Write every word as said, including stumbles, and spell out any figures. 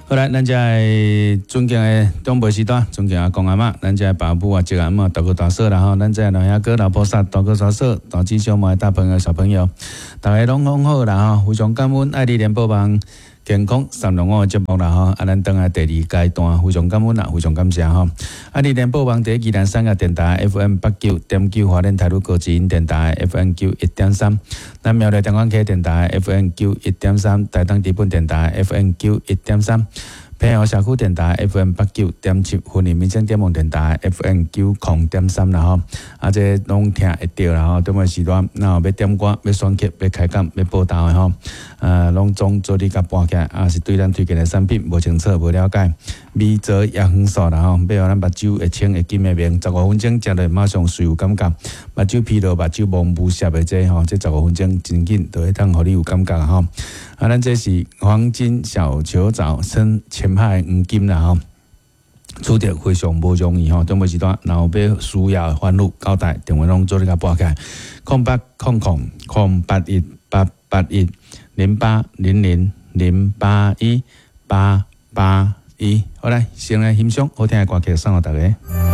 好來，咱遮的尊敬的長輩時代，尊敬阿公阿嬤，咱遮的爸母啊、叔阿嬤、大哥大嫂啦吼，咱遮的老兄哥、老菩薩、大哥大嫂、大姊小妹、大朋友、小朋友，逐家攏攏好啦吼，非常感恩愛你聯播網健康三六五的節目啦吼，啊，咱轉來第二階段，非常感恩啦，非常感謝吼。愛你聯播網佇宜蘭三峽電台 F M 八九點九，花蓮台鹿高之音電台 F M 九一點三，咱苗栗中港溪電台 F M 九一點三，台東知本電台 F M 九一點三。平湖社區電台 F M 八九點七，雲林民生點網電台 F M 九零點三啦吼，啊，這攏聽會著啦吼。中午時段，若有欲點歌、欲選曲、欲開講、欲報道的吼，呃，攏總做你共撥起來，啊，是對咱推薦的產品無清楚、無了解，米澤葉黃素啦吼，欲予咱目睭會青會金會明，十五分鐘食落馬上水有感覺，目睭疲勞、目睭蒙霧澀的這吼，這十五分鐘真緊就會當予你有感覺吼。啊，咱這是黃金小球藻，稱淺海黃金啦吼，取得非常無容易吼。中午時段，若有欲需要的煩惱交代，電話攏做你共撥起來，空八空空空八一八八一零八零零零八一八八一。好來，先來欣賞好聽的歌曲送予大家。